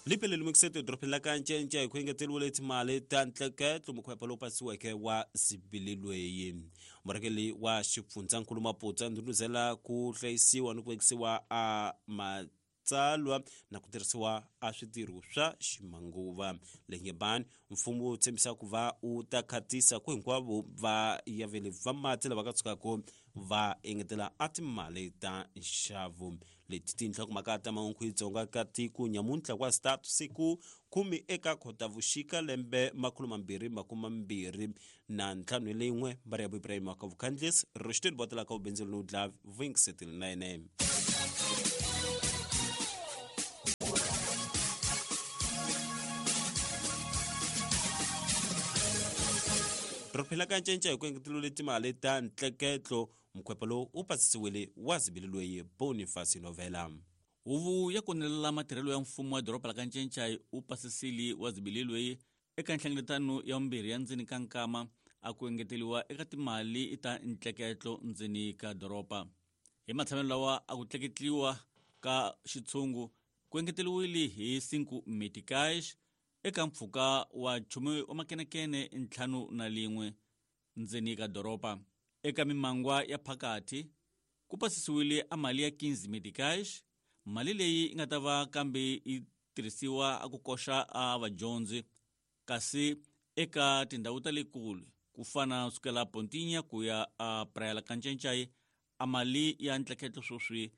Lipele lemukisete edorobeni la ka Ncenche hi ku engeteriwile timali ta ntleketlo mukhwepa lowu pasiweke wa zibililweyi. Murhangeri wa xifundzankulu Maputsa ndhundhuzela ku hlayisiwa ni ku vekisiwa a matsalwa na ku tirhisiwa a switirho swa ximanguva. Lenyebani mfumo wu tshembisa ku va wu ta khatisa ku hinkwavo va yaveli va mati lava ka tshukaka va engetela a timali ta nxavo. Leti tinhlokomhaka ta mahungu hi Dzonga ka tiko nyamuntlha wa start siku 10 eka Khotavuxika lembe 2025 lin'we Mariam Ibrahim wa ka Vukhandlisi Rushdin Botela ka Vubindzulu no Dlavi Vuyingiseteli na yene. Ri phela ka ncenca hi ku engetelule timali ta ntleketlo Mukhwepa lowu wu pasisiwile wa zibili loyi Boniface Novela. Huvo ya konelela matirhelo ya mfumo wa doroba la ka Ncencai wu pasisile wa zibili loyi eka nhlengeletano ya vumbirhi ya ndzeni ka nkama a ku engeteliwa eka timali ta ntleketlo ndzeni ka doroba. Hi matshamelo lawa a ku tleketliwa ka xitshungu ku engeteliwile hi 5 meticais eka mpfhuka wa nchumu wa makenekene 51 ndzeni ka doroba. Eka mimangwa ya phakathi ku pasisiwile a mali ya 15 meticais, mali leyi yi nga ta va kambe yi tirhisiwa a ku koxa a vadyondzi, kasi eka tindhawu ta le kule ku fana sukela Pontinha ku ya a Praia la Kancencai a mali ya ntleketlo sweswi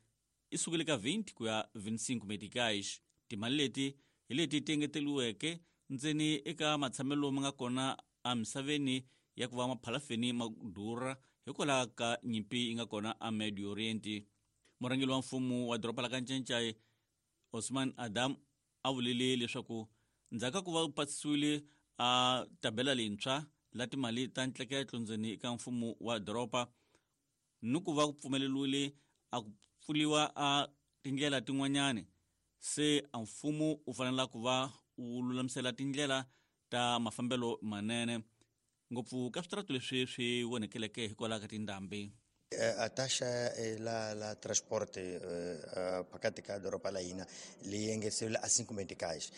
i sukile ka 20 ku ya 25 meticais. Timali leti hi leti ti engeteliweke ndzeni eka matshamelo ma nga kona emisaveni ya ku va maphalafeni ma durha hikwalaho ka nyimpi yi nga kona a Medio Oriente. Murhangeri wa mfumo wa doroba la ka Ncencai Osman Adam a vulile leswaku ndzhaku ka ku va pasisiwile a tabela leyintshwa la timali ta ntleketlo ndzeni ka mfumo wa doroba ni ku va ku pfumeleriwile a ku pfuliwa a tindlela tin'wanyani, se a mfumo wu fanela ku va wu lulamisela tindlela ta mafambelo manene ngopfu ka switaratu leswi swi onhekeleke hikwalaho ka tindhambi. A taxa la transporte phakathi ka doroba la hina leyi engeteriwile a 5 meticais.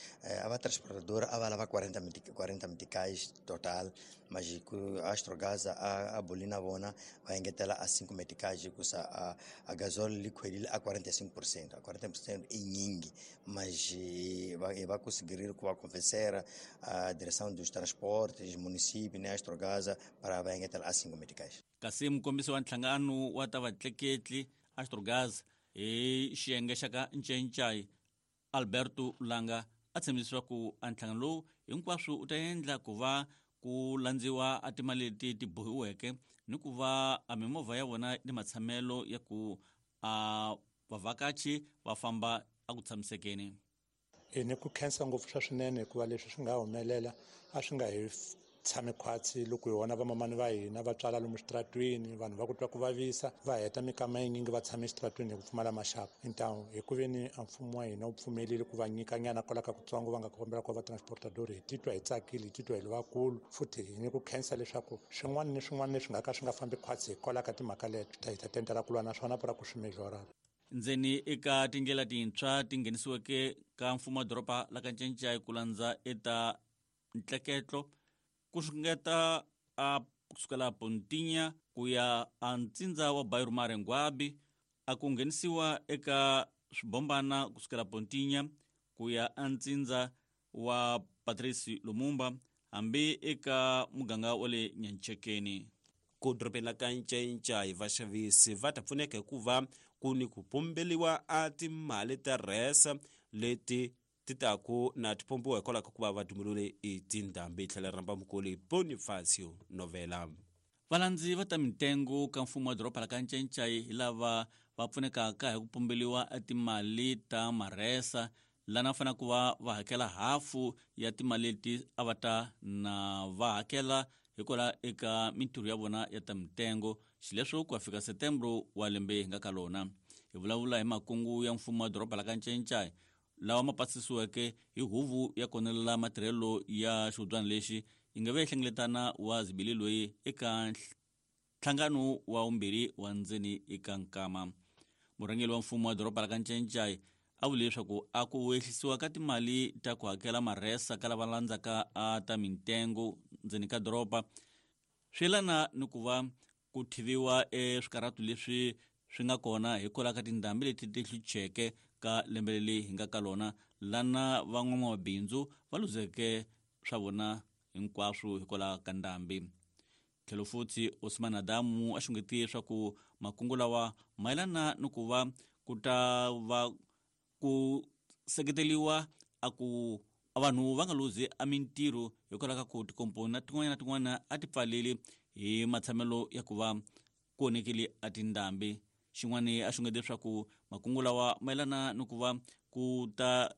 A va transportador a va lava 40 meticais total, mas ku Astrogás a buli na vona va engetela a 5 meticais hikusa a gasol li khwelile a 45%. A 40% i nyingi, mas va conseguiram ku va convencer a direção dos transportes, município, né, Astrogás para va engetela a 5 meticais. Kasi mukombisi wa nhlangano wa ta vatleketli Astrogás hi xiyenge xa ka Ncencai Alberto Langa a tshembisa leswaku a nhlangano lowu hinkwaswo u ta endla ku va ku landziwa a timali leti ti bohiweke ni ku va a mimovha ya vona ni matshamelo ya ku a vavhakachi va famba a ku tshamisekeni. Hi ni ku khensa ngopfu swa swinene hikuva leswi swi nga humelela a swi nga hi tshami khwatsi loko hi vona vamamani va hina va tswala lomu switaratwini, vanhu va ku twa ku vavisa va heta mikama yinyingi va tshame exitaratwini hi ku pfumala maxaka. Então hi ku veni a mfumo wa hina wu pfumelile ku va nyika nyana kwala ka kutsongo va nga kombela ku va transportador, hi titwa hi tsakile, hi titwa hi ri vakulu futhi hi ni ku khensa leswaku swin'wana ni swin'wana leswi nga ka swi nga fambi khwatsi hikwalaho ka timhaka leto hi ta tendela ku lwa na swona para ku swi melhora. Ndzeni eka tindlela tintshwa ti nghenisiweke ka mfumo wa doroba la ka Ncencai ku landza eta ntleketlo ku xungeta a kusukela Pontinha ku ya a ntsindza wa Bairro Marenguabi a ku nghenisiwa eka swibombana kusukela Pontinha ku ya a ntsindza wa Patrice Lumumba hambi eka muganga wa le Nyanchekeni. Ku dorobeni ka Ncencai vaxavisi va ta pfuneka hikuva ku ni ku pombeliwa a timali ta rhesa leti ti taku na ti pombiwa hikwalaho ka ku va va dumulule i tindhambi. Tlhela rhamba mukoli Bonifacio Novela. Valandzi va ta mitengo ka mfumo wa doroba la ka Ncencai hi lava va pfunekaka hi ku pombeliwa timali ta marhesa lana fanele ku va va hakela hafu ya timali leti a va ta na va hakela hikwalaho eka mintirho ya vona ya ta mitengo, xileswo ku ya fika Setembro wa lembe hi nga ka lona. Hi vulavula hi makungu ya mfumo wa doroba la ka Ncencai lawa ma pasisiweke hi huvo ya konelela matirhelo ya xihubyana lexi yi nga ve hlengeletana wa zibili loyi eka nhlangano wa vumbirhi wa ndzeni eka nkama. Murhangeri wa mfumo wa doroba la ka Ncencai A vule leswaku a ku ehlisiwa ka timali ta ku hakela marhesa ka lava landzaka a ta mintengo ndzeni ka doroba swi yelana ni ku va ku thiviwa eswikarhatu leswi swi nga kona hikwalaho ka tindhambi leti ti hlucheke ka lembe leri hi nga ka lona, lana van'wamabindzu va luzeke swa vona hinkwaswo hikwalaho ka ndhambi. Tlhelo futhi Osman Adamu a xungetiye leswaku makungu lawa mayelana ni ku va ku ta va ku seketeriwa a ku vanhu va nga luzi a mintirho hikwalaho ka ku tikomponi na tin'wana na tin'wana a ti pfaleli hi matshamelo ya ku va ku onhekile a tindhambi. Xin'wana a xungete leswaku makungu lawa mayelana ni ku va ku ta